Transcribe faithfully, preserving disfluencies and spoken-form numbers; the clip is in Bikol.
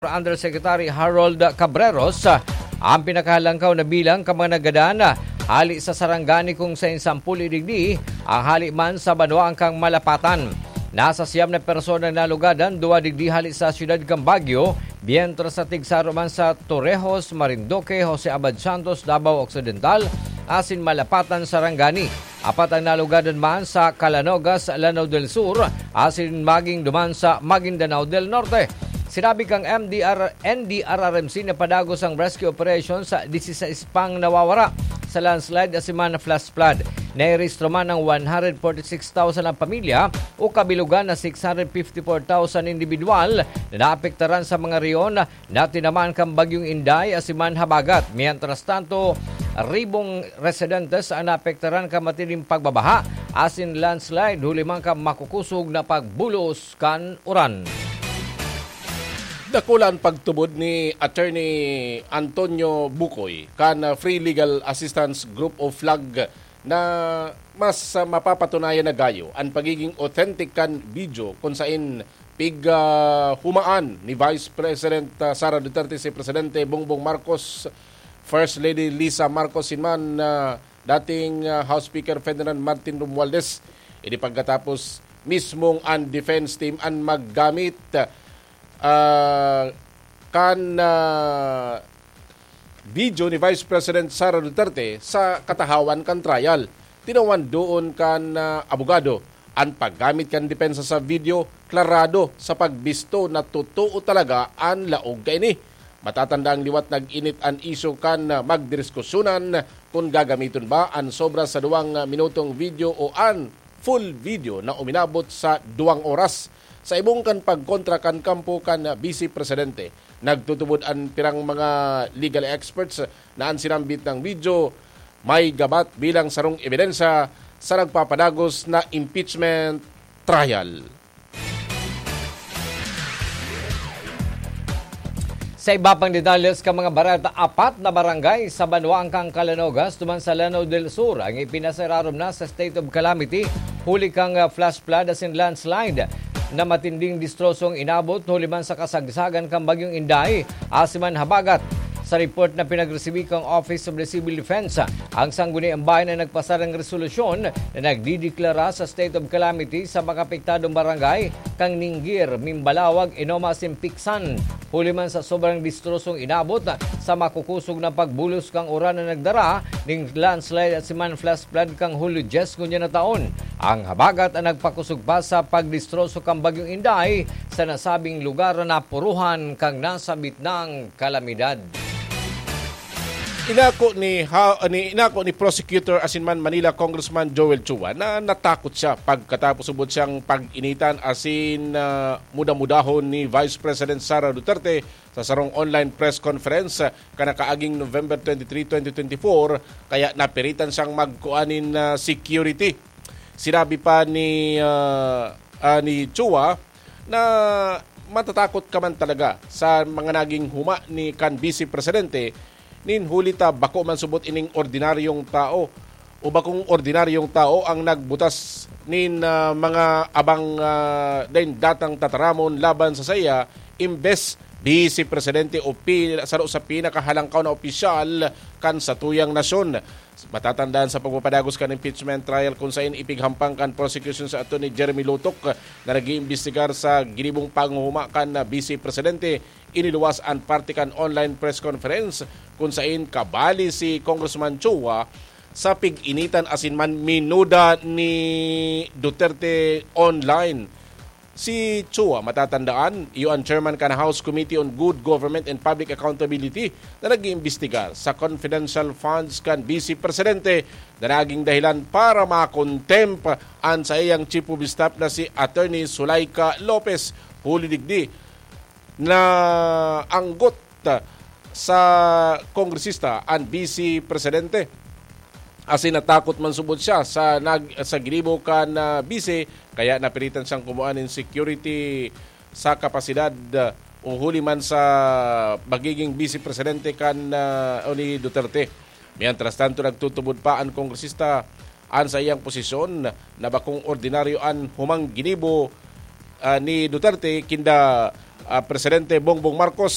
Undersecretary Harold Cabreros, ah, ang pinakahalangkaw na bilang kan mga nagadan, ah, hali sa Sarangani kung sain sampolo digdi, ang hali man sa banwaan kan Malapatan. Nasa siyam na persona ang nalugadan, duwa digdi hali sa siyudad kan Baguio, mientras sa tigsaro man sa Torrejos, Marinduque, Jose Abad Santos, Davao Occidental, asin Malapatan, Sarangani. Apat ang nalugadan man sa Calanogas, Lanao del Sur, asin magin duman sa Maguindanao del Norte. Sinabi kan M D R, N D R R M C na padagos ang rescue operation sa diseseis pang nawawara sa landslide asin man flash flood. Nairehistro man ang one hundred forty-six thousand na pamilya o kabilugan na six hundred fifty-four thousand individual na naapektaran sa mga rehiyon na tinamaan kan Bagyong Inday asin man habagat. Mientras tanto, ribong residentes ang naapektaran kan matinding pagbabaha asin landslide huli man kan makukusog na pagbulos kan uran. Dakula an pagtubod ni Attorney Antonio Bucoy kan Free Legal Assistance Group o FLAG na mas mapapatunayan na gayo an pagiging authentic kan video kun sain pighumaan ni Vice President, ah, Sara Duterte si Presidente Bongbong Marcos, First Lady Lisa Marcos, asin man, ah, dating, ah, House Speaker Ferdinand Martin Romualdez. Ini pagkatapos mismong an defense team an maggamit, ah, kan, ah, video ni Vice President Sara Duterte sa katahawan kan trial. Tinawan doon kan, ah, abogado an paggamit kan depensa sa video klarado sa pagbisto na totoo talaga an laog kaini. Matatanda ang liwat nag-init an isyu kan, ah, magdiskusyonan kun gagamiton ba an sobra sa duwang, ah, minutong video o an full video na uminabot sa duwang oras. Sa ibong kan pagkontra kan kampo kan Vice Presidente, nagtutubod an pirang mga legal experts na an sinambit na video may gabat bilang sarong ebidensya sa nagpapadagos na impeachment trial. Sa iba pang detalles kan mga bareta, apat na barangay sa banwaan kan Calanogas duman sa Lanao del Sur ang ipinasararom na sa state of calamity huli kan, ah, flash flood asin landslide na matinding destrosong inabot huli man sa kasagsagan kan Bagyong Inday asin man habagat. Sa report na pinagresibi kan Office of the Civil Defense, ang Sangguniang Bayan na nagpasarang resolusyon na nagdideklara sa state of calamity sa mga apektadong barangay kan Ninguir, Mimbalawag, Inoma asin Picsan. Huli man sa sobrang destrosong inabot sa makukusog na pagbulos kan uran na nagdara ning landslide asin man flash flood kan Hulyo dyes ngunyan na taon. Ang habagat an nagpakusog pa sa pagdestroso kan Bagyong Inday sa nasabing lugar na napuruhan kan nasabit nang kalamidad. Inako ni ha-, ni, inako ni Prosecutor asin man Manila Congressman Joel Chua na natakot siya pagkatapos subot siyang pag-initan asin, ah, muda-mudahon ni Vice President Sara Duterte sa sarong online press conference, ah, kan nakaaging November twenty-three, twenty twenty-four, kaya napiritan siyang magkua nin, ah, security. Sinabi pa ni, ah, ah, ni Chua na matatakot ka man talaga sa mga naging huma ni kan Vice Presidente nin huli ta bako man subot ining ordinaryong tao o bakong ordinaryong tao ang nagbutas nin, ah, mga abang, ah, dain datang tataramon laban sa saiya, imbes Vice Presidente o pi-, saro sa pinakahalangkaw na opisyal kan satuyang nasyon. Matatandaan sa pagpapadagos kan impeachment trial kun sain ipighampang kan prosecution sa Attorney Jeremy Lotok na nag-iimbestigar sa ginibong panghuma kan Vice Presidente, iniluwas an parte kan online press conference kun sain kabali si Congressman Chua sa pig-initan asin man minuda ni Duterte online. Si Chua, matatandaan, iyo an chairman kan House Committee on Good Government and Public Accountability na nag-iimbestigar sa confidential funds kan Vice Presidente na naging dahilan para makontempt an saiyang Chief of Staff na si Attorney Zuleika Lopez. Huli digdi, naanggot sa kongresista an Vice Presidente. Asin natakot man subot siya sa nag-, sa ginibo kan, ah, Vice, kaya napilitan siyang kumuha nin security sa kapasidad, ah, o huli man sa magiging Vice Presidente kan, ah, o ni Duterte. Mientras tanto, nagtutubod pa an kongresista an saiyang posisyon na bakong ordinaryo an humang ginibo, ah, ni Duterte kinda, ah, Presidente Bongbong Marcos.